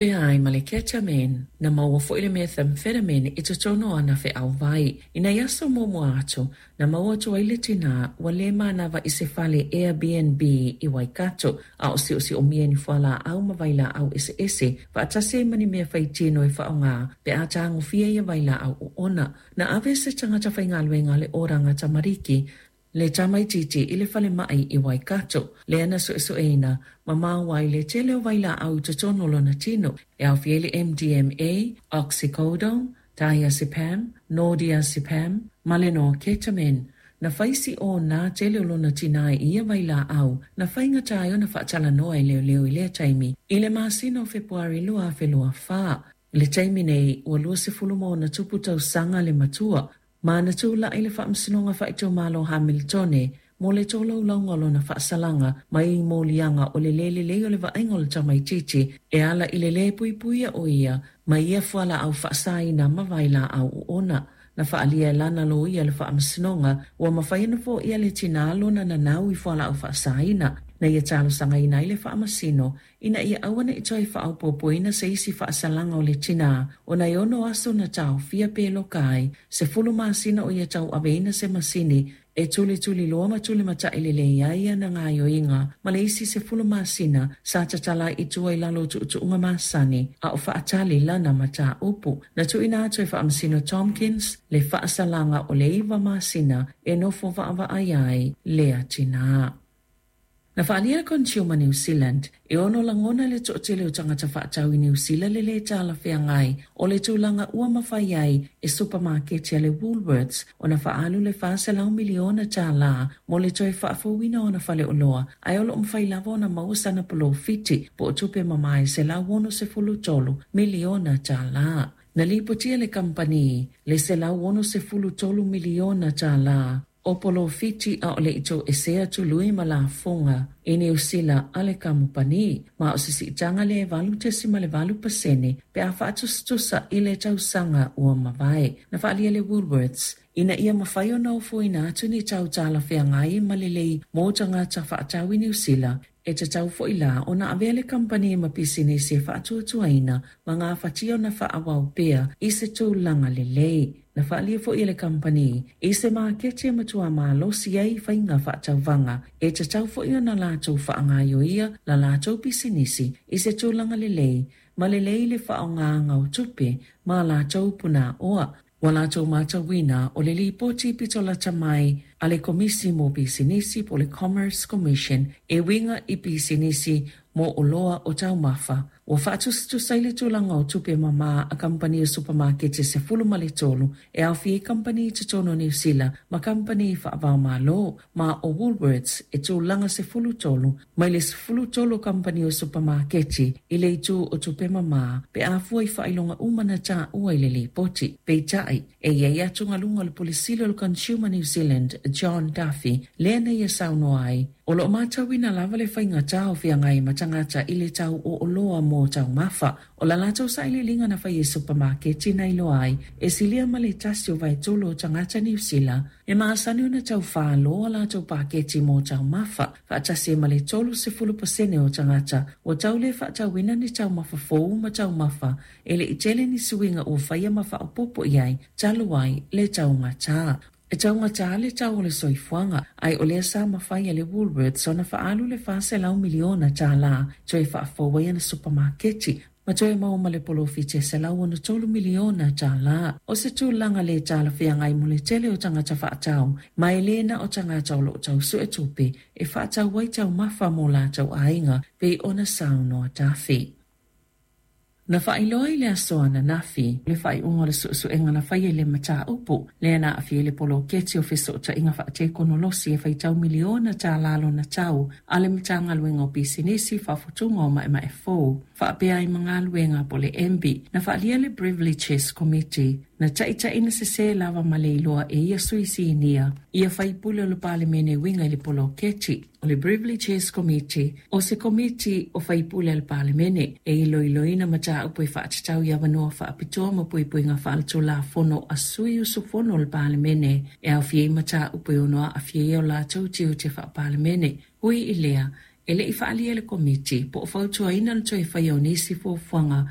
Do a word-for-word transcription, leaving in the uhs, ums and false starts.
Pea ai ma le ketamine, na maua foi le methamphetamine i totonu o ana feauvai. I nai aso muamua atu, na maua atu ai le tinā ua le manava i se fale Airbnb i Waikato, a o siosiomia i ni fualaau ma vailaau eseese, faatasi ai ma ni mea faitino e faaaoga pe a tagofia ia vailaau oona. Na ave se tagata faigaluega a le Oranga Tamariki le tamaititi i le falemai i Waikato, lea na suesueina ma maua ai le tele o vailaau i totonu o lona tino, e aofia ai le M D M A, oxycodone, diazepam, nordiazepam, ma le norketamine. Na fai si o nā tele o lona tina i ia vailaau, na faigata ai ona faatalanoa e leoleo i lea taimi, i le masina o Fepuari lua afe lua whā. Le taimi nei, ua lua sefulu ma ona tupu tausaga le matua, ma na tūla'i le faamasinoga faaitumalo Hamiltone mo le tolaulauga o lona faasalaga mai i moliaga o le lē lelei o le vaaiga o le tamaititi e ala i le lē puipuia o ia mai ia fualaau faasaina ma vailaau oona. Na faalia e lana loia le faamasinoga ua mafai ona foia le tinā lona nanau i fualaau faasaina. Na ia talosagaina ai le faamasino ina ia aua ne'i toe faaopoopoina se isi faasalaga o le tinā ona e ono aso na taofia pe loka ai sefulu masina o ia tauaveina se masini e tulituliloa ma tulimata'i lelei ai ana gaoioiga ma le isi sefulu masina sa tatala ai i tua i lalo o tuutuuga masani a o faatali lana mataupu. Na tuuina atu e faamasino Tompkins le faasalaga o le iva masina e nofo vaavaai ai lea tinā. Na faalia le Consumer New Zealand e ono lagona le toatele o tagata faatau i New Zealand le lē talafeagai o le tulaga ua mafai ai e supamaketi a le Woolworths ona faaalu le fa selau miliona tālā mo le toe faafouina ona faleoloa, ae o loo mafai lava ona maua sana polofiti po o tupe mamae selau ono sefulu tolu miliona tālā. Na lipotia le kampani le selau ono sefulu tolu miliona tālā o polofiti a o le i toesea tului ma lafoga i Niu Sila a le kamupani, ma o se siitaga le valu tesima le valu pasene pe a faatusatusa i le tausaga ua mavae. Na faalia le Woolworths ina ia mafai ona ofoina atu ni tau talafeagai ma lelei mo tagata faatau i Niu Sila, e tatau foi la ona avea le kampani ma pisinisi e faatuatuaina ma gafatia ona faaauau pea i se tulaga lelei. Na faalia foi e le kampani i se maketi e matua malosi ai faiga faatauvaga, e tatau foi ona latou faagaioia la latou pisinisi i se tulaga lelei ma lelei le faaaogāga o tupe ma latou punaoa. Ua latou matauina o le lipoti pito lata mai a le Komisi mo Pisinisi po le Commerce Commission e uiga i pisinisi mo oloa o taumafa. Ua faatusatusa i le tulaga o tupe mamā a kampani o supamakete sefulu ma le tolu e aofia ai kampani i totonu o Niu Sila ma kampani faavaomalo, ma o Woolworths e tulaga sefulu tolu mai le sefulu tolu o kampani o supamaketi i le itu o tupe mamā pe a fua i faailoga uma na taua i le lipoti. Peitai, e iai atugaluga o le Pule Sili o le Consumer New Zealand, John Duffy, lea na ia saunoa ai, o loo matauina lava le faigatā o feagai ma tagata i le tau o oloa mo taumafa. O la latou sailiiliga na fai e supamaketi na iloa ai e silia ma le tasi o vaetolu o tagata Niu Sila e masani ona taufāloa latou paketi mo taumafa, faatasi ai ma le tolu sefulu pasene o tagata ua tau le faatauina ni taumafa fou ma taumafa e le i tele ni suiga ua faia ma faaopoopo i ai talu ai le taugatā. E taugatā le tau o le soifuaga, ae o lea sa mafai e le Woolworths ona faaalu le fa selau miliona tālā toe faafou ai ana supamaketi ma toe maua ma le polofiti e selau ono tolu miliona tālā. O se tulaga le talafeagai mo le tele o tagata faatau, ma e lē na o tagata o loo tausue tupe e faatau ai taumafa mo latou aiga pei ona saunoa Duffy. Na faailoa i le aso ananafi le faaiuga o le suesuega na faia i le mataupu lea na aafia ai le poloketi o fesootaiga faatekonolosi e faitau miliona tālā lona tau a le Matagaluega o Pisinisi Faafutuga o Maemae Fou faapea ai ma galuega po le M B. Na faalia le Privileges Committee na taitaina sesē lava ma le iloa e ia sui sinia ia faipule o le Palemene e uiga i le poloketi. O le Privileges Committee o se komiti o faipule a le Palemene e iloiloina mataupu e faatatau i avanoa faapitoa ma puipuiga faaletulafono a sui usufono o le Palemene e aofia ai mataupu e ono aafia ai o latou tiute faapalemene. Ui i lea, e le i faalia le komiti po o fautuaina le toe faia o nisi fuafuaga